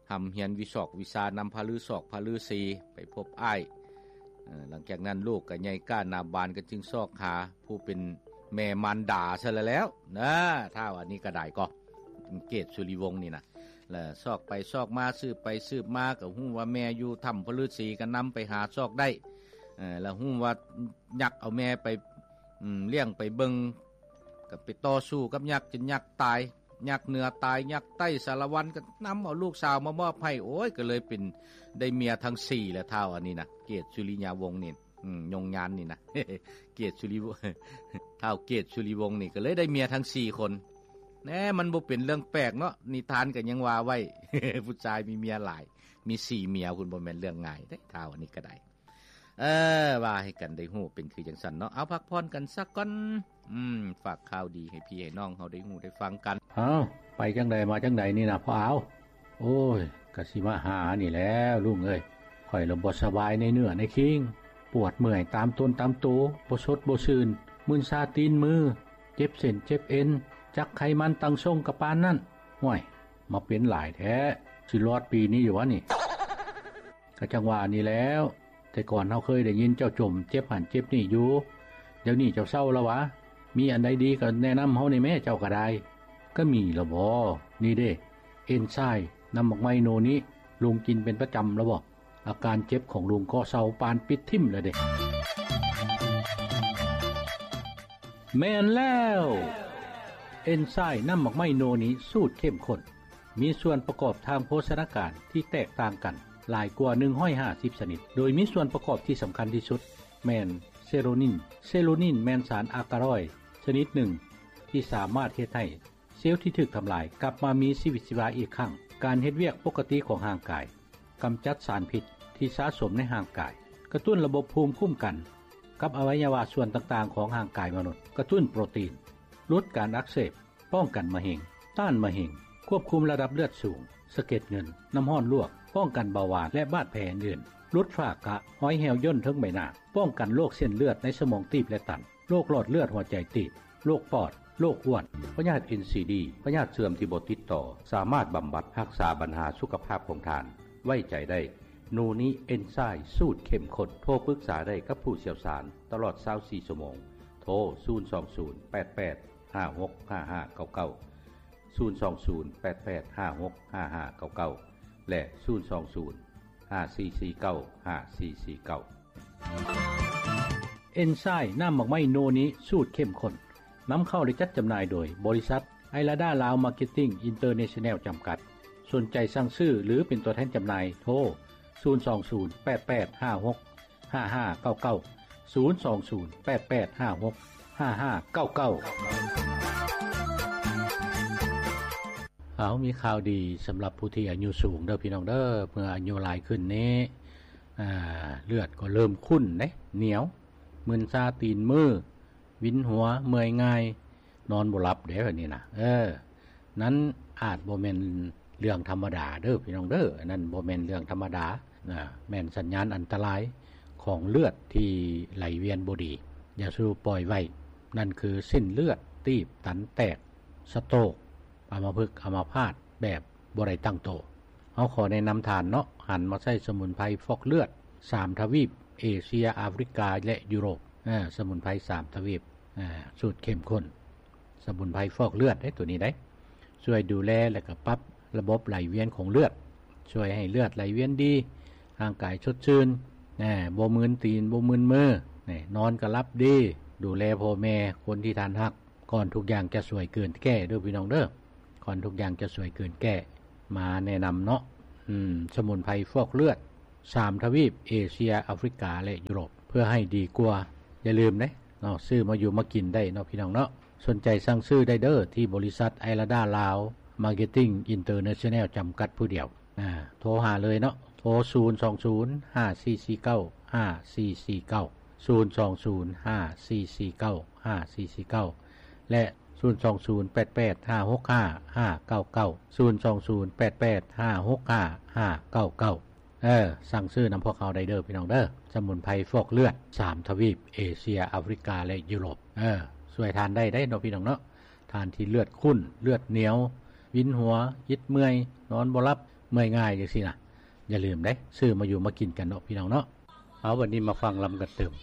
ຮ່ຳຮຽນວິຊອກວິຊານຳພະລືສອກພະລືສີ ໄປພົບອ້າຍ. ເອີ ຫຼັງຈາກນັ້ນລູກກໍໃຫຍ່ກ້າໜາບານ ກໍຈຶ່ງຊອກຫາຜູ້ເປັນແມ່ມານດາຊະແລ້ວນະ ທ້າວອັນນີ້ກໍໄດ້ກໍ ເກດສຸລິວົງນີ້ນະ. ແລ້ວຊອກໄປຊອກມາ ສືບໄປສືບມາ ກໍຮູ້ວ່າແມ່ຢູ່ຖ້ຳພະລືສີ ກໍນຳໄປຫາຊອກໄດ້ ເອີ ແລ້ວຮູ້ວ່າຍັກເອົາແມ່ໄປ ອືມ ລ້ຽງໄປເບິ່ງ ກໍໄປຕໍ່ສູ້ກັບຍັກ ຈົນຍັກຕາຍ ຍັກເໜືອຕາຍ ຍັກໃຕ້ສາລະວັນ ກໍນຳເອົາລູກສາວມາມອບໃຫ້. ໂອ້ຍ ກໍເລີຍເປັນ ໄດ້ເມຍທັງສີ່ແລ້ວ ທ້າວອັນນີ້ນະ ເກດສຸລິຍະວົງນີ້ ອືມ ຍົງຍານນີ້ນະ ເກດສຸລິ ທ້າວເກດສຸລິວົງນີ້ ກໍເລີຍໄດ້ເມຍທັງສີ່ຄົນ. ແນ່ ມັນບໍ່ເປັນເລື່ອງແປກເນາະ ນິທານກໍຍັງວ່າໄວ້ ຜູ້ຊາຍມີເມຍຫຼາຍ ມີສີ່ເມຍພຸ້ນ ບໍ່ແມ່ນເລື່ອງງ່າຍເດ້ ທ້າວອັນນີ້ກໍໄດ້. ເອີ ວ່າໃຫ້ກັນໄດ້ຮູ້ເປັນຄືຈັ່ງຊັ້ນເນາະ. ເອົາ ພັກຜ່ອນກັນສາກ່ອນ. ອືມ ຝາກຂ່າວດີໃຫ້ພີ່ໃຫ້ນ້ອງເຮົາໄດ້ຮູ້ໄດ້ຟັງກັນ. ເອົ້າ ໄປຈັ່ງໃດມາຈັ່ງໃດນີ້ນະພໍ່ອາວ? ໂອ້ຍ ກະຊິມາຫານີ້ແຫຼະລຸງເອີຍ. ຂ້ອຍລະບໍ່ສະບາຍໃນເນື້ອໃນຄີງ ປວດເມື່ອຍຕາມຕົນຕາມໂຕ ບໍ່ສົດບໍ່ຊື່ນ ມຶນຊາຕີນມື ເຈັບເສັ້ນເຈັບເອັນ ຈັກໄຂມັນຕັ້ງຊົງກະປານນັ້ນ. ຫ້ວຍ ມາເປັນຫຼາຍແທ້ ຊິລອດປີນີ້ຢູ່ຫວານີ້? ກະຈັ່ງວ່ານີ້ແຫຼ້ວ ແຕ່ກ່ອນເຮົາເຄີຍໄດ້ຍິນເຈົ້າຈົ່ມເຈັບຫັ້ນເຈັບນີ້ຢູ່ ດຽວນີ້ເຈົ້າເຊົາລະຫວາ? ມີອັນໃດດີກໍແນະນຳເຮົາແດ່ແມ້ ເຈົ້າກໍໄດ້. ກະມີລະບໍ? ນີ້ເດ້ ເອັນຊາຍນ້ຳໝາກໄມ້ໂນນິ ລຸງກິນເປັນປະຈຳລະບໍ? ອາການເຈັບຂອງລຸງກໍເຊົາປານປິດຖິ້ມລະເດ້. ແມ່ນແລ້ວ ເອັນຊາຍນ້ຳໝາກໄມ້ໂນນິ ສູດເຂັ້ມຂຸ້ນ ມີສ່ວນປະກອບທາງໂພຊະນາການທີ່ແຕກຕ່າງກັນຫຼາຍກວ່າໜຶ່ງຮ້ອຍຫ້າສິບຊະນິດ ໂດຍມີສ່ວນປະກອບທີ່ສຳຄັນທີ່ສຸດແມ່ນເຊໂຣນິນ. ເຊໂຣນິນແມ່ນສານອາກາຣອຍຊະນິດໜຶ່ງທີ່ສາມາດເຮັດໃຫ້ເຊວທີ່ຖືກທຳລາຍກັບມາມີຊີວິດຊີວາອີກຄັ້ງ. ການເຮັດວຽກປົກກະຕິຂອງຮ່າງກາຍ, ກຳຈັດສານພິດທີ່ສະສົມໃນຮ່າງກາຍ, ກະຕຸ້ນລະບົບພູມຄຸ້ມກັນກັບອະໄວຍະວະສ່ວນຕ່າງໆຂອງຮ່າງກາຍມະນຸດ, ກະຕຸ້ນໂປຣຕີນ, ຫຼຸດການອັກເສບ, ປ້ອງກັນມະເຮັງ, ຕ້ານມະເຮັງ, ຄວບຄຸມລະດັບເລືອດສູງ, ສະເກັດເງິນ, ນ້ຳຮ້ອນລວກ, ປ້ອງກັນເບົາຫວານ ແລະ ບາດແຜອື່ນໆ, ຫຼຸດຝ້າກະ, ຮອຍແຫ້ວຍ່ນເທິງໃບໜ້າ, ປ້ອງກັນໂລກເສັ້ນເລືອດໃນສະໝອງຕີບ ແລະ ຕັນ, ໂລກຫຼອດເລືອດຫົວໃຈຕີບ, ໂລກປອດ, ໂລກອ້ວນ. ພະຍາດເອັນຊີດີ, ພະຍາດເຊື່ອມທີ່ບໍ່ຕິດຕໍ່, ສາມາດບຳບັດຮັກສາບັນຫາສຸຂະພາບຂອງທ່ານ. ໄວ້ໃຈໄດ້ ໂນນິເອັນຊາຍສູດເຂັ້ມຂຸ້ນ. ໂທປຶກສາໄດ້ກັບຜູ້ຊ່ຽວຊານຕະຫຼອດຊາວສີ່ຊົ່ວໂມງ. ໂທ ສູນສອງສູນ ແປດແປດ ຫ້າຫົກຫ້າຫ້າເກົ້າເກົ້າ, ສູນສອງສູນ ແປດແປດຫ້າຫົກຫ້າຫ້າເກົ້າເກົ້າ ແລະ ສູນສອງສູນ ຫ້າສີ່ສີ່ເກົ້າ ຫ້າສີ່ສີ່ເກົ້າ. ເອັນຊາຍນ້ຳໝາກໄມ້ໂນນິສູດເຂັ້ມຂຸ້ນ ນຳເຂົ້າ ແລະ ຈັດຈຳໜ່າຍໂດຍບໍລິສັດ ໄອລາດາລາວມາເກັດຕິ້ງອິນເຕີເນຊັນແນວຈຳກັດ. ສົນໃຈສັ່ງຊື້ ຫຼື ເປັນຕົວແທນຈຳໜ່າຍ ໂທ ສູນສອງສູນ ແປດແປດຫ້າຫົກ ຫ້າຫ້າເກົ້າເກົ້າ, ສູນສອງສູນ ແປດແປດຫ້າຫົກ ຫ້າຫ້າເກົ້າເກົ້າ. ເອົາ ມີຂ່າວດີສຳລັບຜູ້ທີ່ອາຍຸສູງເດີພີ່ນ້ອງເດີ. ເມື່ອອາຍຸຫຼາຍຂຶ້ນນີ້ ອາ ເລືອດກໍເລີ່ມຂຸ້ນເດ້ ໜຽວ, ມຶນຊາຕີນມື, ວິນຫົວ, ເມື່ອຍງ່າຍ, ນອນບໍ່ຫຼັບເດ້ ແບບນີ້ນະ. ເອີ ນັ້ນອາດບໍ່ແມ່ນເລື່ອງທຳມະດາເດີພີ່ນ້ອງເດີ, ອັນນັ້ນບໍ່ແມ່ນເລື່ອງທຳມະດານະ, ແມ່ນສັນຍານອັນຕະລາຍຂອງເລືອດທີ່ໄຫຼວຽນບໍ່ດີ. ຢ່າສູ່ປ່ອຍໄວ້, ນັ້ນຄືເສັ້ນເລືອດຕີບຕັນແຕກ, ສະໂຕກ, ອຳມະພຶກ, ອຳມະພາດແບບບໍ່ໄດ້ຕັ້ງໂຕ. ເຮົາຂໍແນະນຳທ່ານເນາະ, ຫັນມາໃຊ້ສະໝຸນໄພຟອກເລືອດສາມທະວີບ, ເອເຊຍ, ອາຟຣິກາ ແລະ ຢູໂຣບ. ເອີ ສະໝຸນໄພສາມທະວີບ, ສູດເຂັ້ມຂຸ້ນ. ສະໝຸນໄພຟອກເລືອດເດ້ ໂຕນີ້ເດ້ ຊ່ວຍດູແລ ແລະ ກໍປັບລະບົບໄຫຼວຽນຂອງເລືອດ, ຊ່ວຍໃຫ້ເລືອດໄຫຼວຽນດີ, ຮ່າງກາຍສົດຊື່ນ, ບໍ່ມຶນຕີນ, ບໍ່ມຶນມື, ນອນກໍຫຼັບດີ, ດູແລພໍ່ແມ່, ຄົນທີ່ທ່ານຮັກ, ກ່ອນທຸກຢ່າງຈະສວຍເກີນແກ້ເດີພີ່ນ້ອງເດີ, ກ່ອນທຸກຢ່າງຈະສວຍເກີນແກ້. ມາແນະນຳເນາະ, ອືມ, ສະໝຸນໄພຟອກເລືອດ ສາມທະວີບ, ເອເຊຍ, ອາຟຣິກາ ແລະ ຢູໂຣບ, ເພື່ອໃຫ້ດີກວ່າ. ຢ່າລືມເດ້ເນາະ, ຊື້ມາຢູ່ມາກິນໄດ້ເນາະ ພີ່ນ້ອງເນາະ. ສົນໃຈສັ່ງຊື້ໄດ້ເດີ ທີ່ບໍລິສັດ ໄອລາດາລາວ ມາເກັດຕິ້ງ ອິນເຕີເນຊັນແນວ ຈຳກັດຜູ້ດຽວ. ອາ, ໂທຫາເລີຍເນາະ, ໂທ ສູນສອງສູນ ຫ້າສີ່ສີ່ເກົ້າ ຫ້າສີ່ສີ່ເກົ້າ, ສູນສອງສູນ ຫ້າສີ່ສີ່ເກົ້າ ຫ້າສີ່ສີ່ເກົ້າ ແລະ ສູນສອງສູນ ແປດແປດຫ້າຫົກຫ້າຫ້າເກົ້າເກົ້າ, ສູນສອງສູນ ແປດແປດຫ້າຫົກຫ້າຫ້າເກົ້າເກົ້າ. ເອີ, ສັ່ງຊື້ນຳພວກເຮົາໄດ້ເດີ ພີ່ນ້ອງເດີ. ສະໝຸນໄພຟອກເລືອດ ສາມທະວີບ, ເອເຊຍ, ອາຟຣິກາ ແລະ ຢູໂຣບ. ເອີ, ຊ່ວຍທ່ານໄດ້ໄດ໋ເນາະ ພີ່ນ້ອງເນາະ. ທ່ານທີ່ເລືອດຂຸ້ນ, ເລືອດໜຽວ, ວິນຫົວ, ອິດເມື່ອຍ, ນອນບໍ່ຫຼັບ, ເມື່ອຍງ່າຍຈັ່ງຊີ້ນະ ຢ່າລືມເດ້ ຊື້ມາຢູ່ມາກິນກັນເນາະ ພີ່ນ້ອງເນາະ. ເອົາ ບັດນີ້ມາຟັງລຳກັນຕື່ມ.